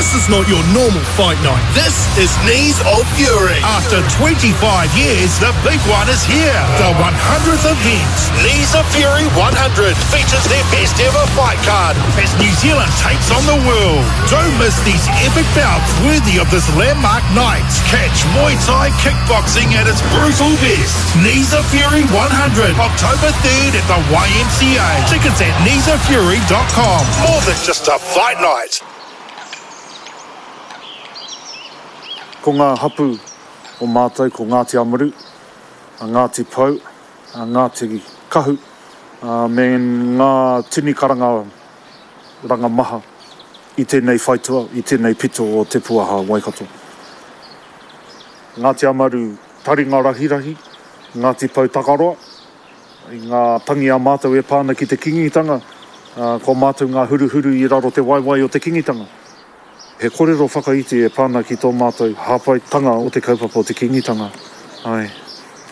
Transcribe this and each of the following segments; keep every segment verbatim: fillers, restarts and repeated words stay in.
This is not your normal fight night. This is Knees of Fury. After twenty-five years, the big one is here. The one hundredth event. Knees of Fury one hundred features their best ever fight card as New Zealand takes on the world. Don't miss these epic bouts worthy of this landmark night. Catch Muay Thai kickboxing at its brutal best. Knees of Fury one hundred, October third at the Y M C A. Tickets at knees of fury dot com. More than just a fight night. Ko ngā hapu o mātou, ko Ngāti Amaru, a Ngāti Pou, a Ngāti Kahu, a me ngā tini karanga ranga maha i tēnei whaitua, i tēnei pito o Te Puaha Waikato. Ngāti Amaru taringa rahirahi, Ngāti Pou takaroa, i ngā tangi a mātou e pāna ki te kingitanga, ko mātou ngā huruhuru i raro te waiwai o te kingitanga. He korero whakaiti e pāna ki tō mātou hāpaitanga o te kaupapa o te kingitanga. Ai.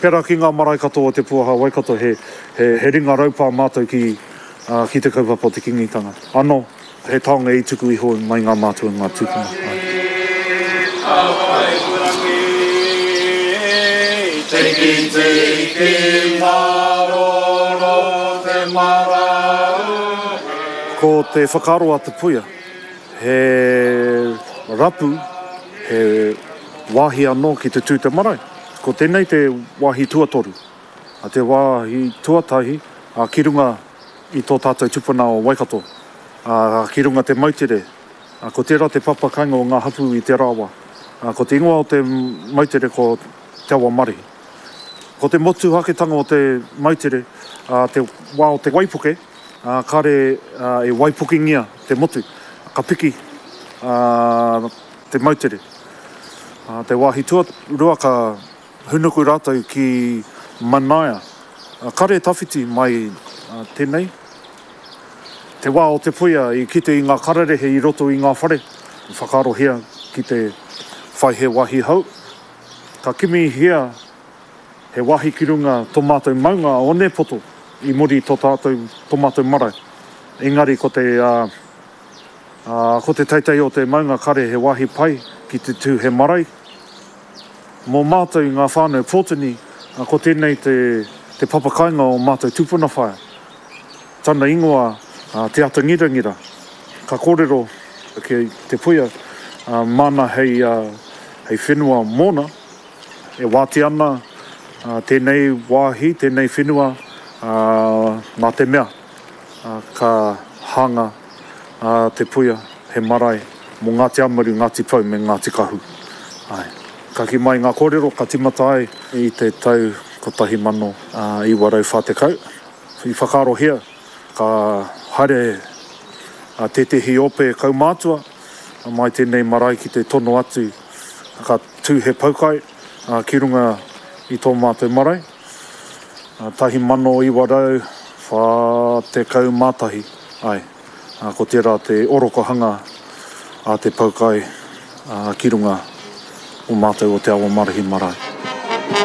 Pērā ki ngā marae katoa o Te Puaha Waikato, he, he, he ringa raupā mātou ki, uh, ki te kaupapa o te kingitanga. Ano, he taonga i tuku iho mai ngā mātua ngā tūpuna. Ko te whakaaro a Te Puia, he rapu, he wāhi anō ki te tū te marae. Ko tēnei te wāhi tuatoru. A te wāhi tuatahi, a ki runga i tō tātou tupuna o Waikato, a ki runga te moutere. A ko tērā te papakainga o ngā hapu i te rawa. A ko te ingoa o te moutere ko Te Awa Marihi. Ko te motuhaketanga o te moutere, a te wā o te waipuke, a kare a, e waipukingia te motu. Ka piki uh, te moutere. Uh, te wāhi tuarua ka hunuku rātou ki Manaia. Uh, kare tawhiti mai uh, tēnei. Te wā o Te Puia i kite i ngā kararehe i roto i ngā whare. Whakaarohia ki te whai he wāhi hau. Ka kimihia he wāhi ki runga tō mātou maunga o Onepoto i muri tō tātou, tō mātou marae. Engari ko te... Uh, Uh, ko te teitei o te maunga kare he wāhi pai ki te tū he marae. Mō mātou i ngā whānau Pōtini, uh, ko tēnei te, te papakainga o mātou tupuna whaea. Tana ingoa uh, Te Atangirangira. Ka kōrero ki Te Puia, uh, mana hei, uh, hei whenua mōna, e wāti ana uh, tēnei wāhi, tēnei whenua uh, nā te mea uh, ka hanga a Te Puia, he marae mō Ngāti Amaru, Ngāti Pou me Ngāti Kahu. Ai. Ka ki mai ngā kōrero, ka timata ai i te tau kotahi mano iwa rau whā tekau. I whakaarohia, ka haere a tētehi ope kaumātua, mai tēnei marae ki te tono atu, ka tū he poukai a, ki runga i tō mātou marae. A, tahi mano iwa rau whā tekau mātahi. Ai. Ko tērā te orokohanga a te poukai a, ki runga o mātou o Te Awa Marihi marae.